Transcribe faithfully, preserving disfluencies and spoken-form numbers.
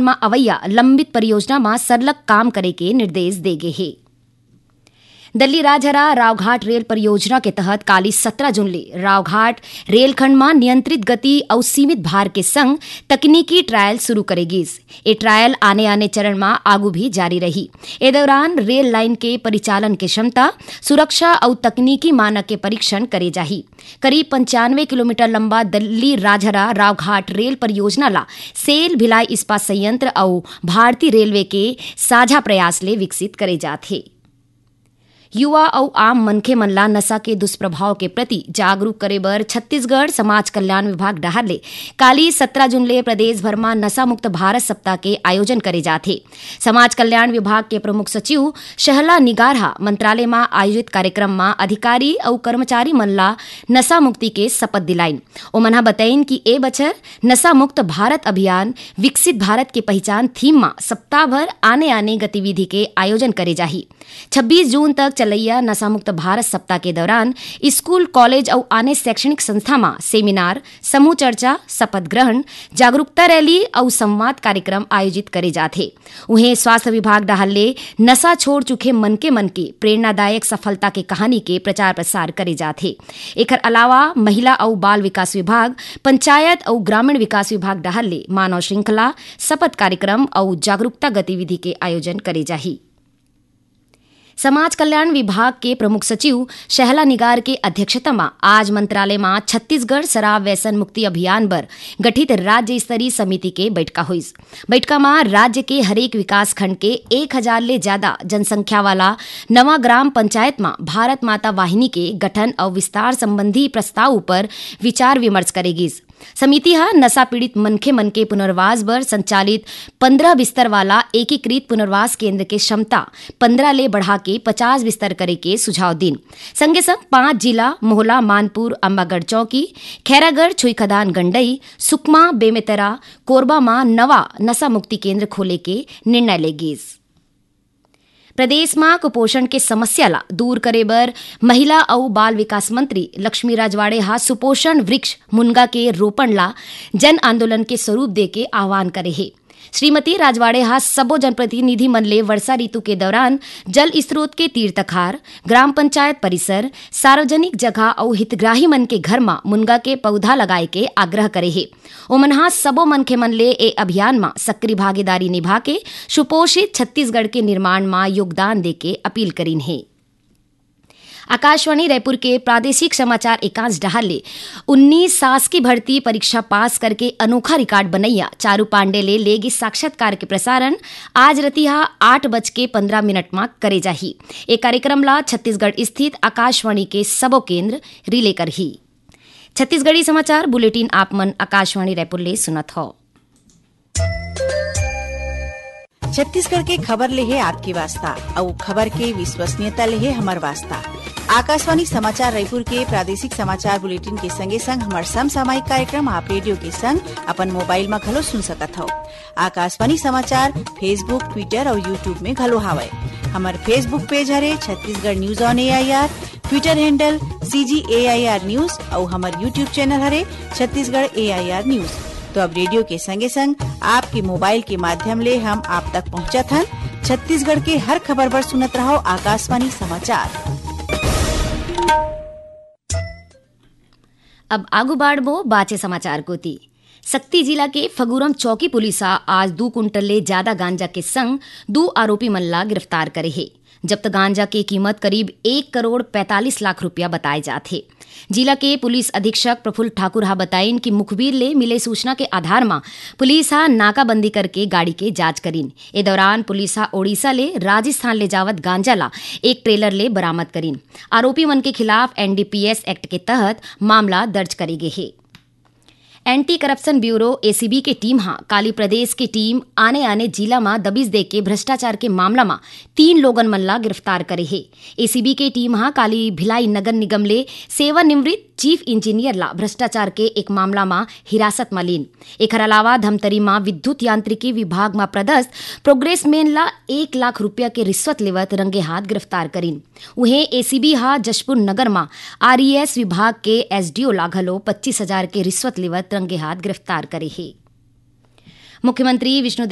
म अवैया लंबित परियोजना म सरलग काम करे के निर्देश दे गे हे। दिल्ली राजहरा रावघाट रेल परियोजना के तहत काली सत्रह जून ले रावघाट रेलखंड म नियंत्रित गति अउ सीमित भार के संग तकनीकी ट्रायल शुरू करे गिस। ए ट्रायल आने-आने चरण म आगू भी जारी रही। ए दौरान रेल लाइन के परिचालन के क्षमता, सुरक्षा अउ तकनीकी मानक के परीक्षण करे जाही। करीब पंचानवे किलोमीटर लंबा दिल्ली राजहरा रावघाट रेल परियोजना ला सेल भिलाई इस्पात संयंत्र अउ भारतीय रेलवे के साझा प्रयास ले विकसित करे जात हे। युवा अउ आम मनखे मन ला नशा के दुष्प्रभाव के प्रति जागरूक करे बर छत्तीसगढ़ समाज कल्याण विभाग डहार ले काली सत्रह जून ले प्रदेश भर म नशा मुक्त भारत सप्ताह के आयोजन करे जात हे। समाज कल्याण विभाग के प्रमुख सचिव शहला निगार ह मंत्रालय म आयोजित कार्यक्रम म अधिकारी अउ कर्मचारी मन ला नशा मुक्ति के शपथ दिलाइन। ओमन ह बतइन कि ए बछर नशा मुक्त भारत अभियान विकसित भारत के पहिचान थीम म सप्ताह भर आने-आने गतिविधि के आयोजन करे जाही। छब्बीस जून तक चलइया नशा मुक्त भारत सप्ताह के दौरान स्कूल, कॉलेज अउ आने शैक्षणिक संस्था म सेमिनार, समूह चर्चा, शपथ ग्रहण, जागरूकता रैली अउ संवाद कार्यक्रम आयोजित करे जात हे। उहें, स्वास्थ्य विभाग डहार ले नशा छोड़ चुके मनखे मन के प्रेरणादायक सफलता के कहानी के प्रचार प्रसार करे जात हे। एखर अलावा महिला अउ बाल विकास विभाग, पंचायत अउ ग्रामीण विकास विभाग डहार ले मानव श्रृंखला, शपथ कार्यक्रम अउ जागरूकता गतिविधि के आयोजन करे जाही। समाज कल्याण विभाग के प्रमुख सचिव शहला निगार के अध्यक्षता म आज मंत्रालय म छत्तीसगढ़ शराब व्यसन मुक्ति अभियान बर गठित राज्य स्तरीय समिति के बैठका होइस। बैठका म राज्य के हरेक विकास खंड के एक हजार ले ज्यादा जनसंख्या वाला नवा ग्राम पंचायत म भारत माता वाहिनी के गठन अउ विस्तार संबंधी प्रस्ताव ऊपर विचार विमर्श करे गिस। समिति ह नशा पीड़ित मनखे मन के पुनर्वास बर संचालित पंद्रह बिस्तर वाला एकीकृत पुनर्वास केंद्र के क्षमता पंद्रह ले बढ़ा के पचास बिस्तर करे के सुझाव दिन। संगे संग पांच जिला, मोहला, मानपुर, अम्बागढ़ चौकी, खैरागढ़, छुईखदान गंडई, सुकमा, बेमेतरा, कोरबा म नवा नशा मुक्ति केंद्र खोले के निर्णय ले गिस। प्रदेश म कुपोषण के समस्या ला दूर करे बर महिला अउ बाल विकास मंत्री लक्ष्मी राजवाड़े ह सुपोषण वृक्ष मुनगा के रोपण ला जन आंदोलन के स्वरूप दे के आह्वान करे हे। श्रीमती राजवाड़े ह सबो जनप्रतिनिधि मन ले वर्षा ऋतु के दौरान जल स्रोत के तीर तखार, ग्राम पंचायत परिसर, सार्वजनिक जगह अउ हितग्राही मन के घर म मुनगा के पौधा लगाए के आग्रह करे हे। ओमन ह सबो मनखे मन ले ए अभियान म सक्रिय भागीदारी निभा के सुपोषित छत्तीसगढ़ के निर्माण म योगदान दे के अपील करिन हे। आकाशवाणी रायपुर के प्रादेशिक समाचार एकांश डहार ले उन्नीस शासकीय भर्ती परीक्षा पास करके अनोखा रिकॉर्ड बनैया चारू पांडे ले लेगे साक्षात्कार के प्रसारण आज रतिहा आठ बज के पंद्रह मिनट म करे जाही। ए कार्यक्रम ला छत्तीसगढ़ स्थित आकाशवाणी के सबो केंद्र रिले करही। छत्तीसगढ़ी समाचार बुलेटिन आप मन आकाशवाणी रायपुर ले सुनत हव। छत्तीसगढ़ के खबर ले हे आपके वास्ता, अउ खबर के विश्वसनीयता ले हे हमर वास्ता। आकाशवाणी समाचार रायपुर के प्रादेशिक समाचार बुलेटिन के संगे संग हमर समसामयिक कार्यक्रम आप रेडियो के संग अपन मोबाइल म घलो सुन सकत हव। आकाशवाणी समाचार Facebook, Twitter अउ YouTube में घलो हावय। हमर Facebook पेज हरे Chhattisgarh news on AIR, Twitter handle CG AIR news अउ हमर YouTube चैनल हरे छत्तीसगढ़ एआईआर न्यूज। तो अब रेडियो के संगे संग आपके मोबाइल के माध्यम ले हम आप तक पहुंचत हन। छत्तीसगढ़ के हर खबर बर सुनत रहव आकाशवाणी समाचार। अब आगू बाढ़बो बाचे समाचार कोती। सक्ती जिला के फगुरम चौकी पुलिस ह आज दू कुंटल ले ज्यादा गांजा के संग दू आरोपी मन ला गिरफ्तार करे हे। जब्त गांजा के कीमत करीब एक करोड़ पैंतालीस लाख रुपया बताए जात हे। जिला के पुलिस अधीक्षक प्रफुल्ल ठाकुर ह बताइन कि मुखबिर ले मिले सूचना के आधार म पुलिस ह नाकाबंदी करके गाड़ी के जांच करिन। ए दौरान पुलिस ह ओडिशा ले राजस्थान ले जावत गांजा ला एक ट्रेलर ले बरामद करिन। आरोपी मन के खिलाफ एनडीपीएस एक्ट के तहत मामला दर्ज करे गे हे। एंटी करप्शन ब्यूरो, एसीबी, के टीम ह काली प्रदेश के टीम आने-आने जिला म दबिश देके भ्रष्टाचार के मामला म तीन लोगन मन ला गिरफ्तार करे हे। एसीबी के टीम ह काली भिलाई नगर निगम ले सेवानिवृत्त चीफ इंजीनियर ला भ्रष्टाचार के एक मामला म हिरासत म लीन। एखर अलावा धमतरी म विद्युत यांत्रिकी विभाग म पदस्थ प्रोग्रेसमैन ला एक लाख रुपया के रिश्वत लेवत रंगे हाथ गिरफ्तार करिन। उहें, एसीबी ह जशपुर नगर म आरईएस विभाग के एसडीओ ला घलो पच्चीस हजार के रिश्वत लेवत रंगे हाथ गिरफ्तार करे हे। मुख्यमंत्री विष्णुदेव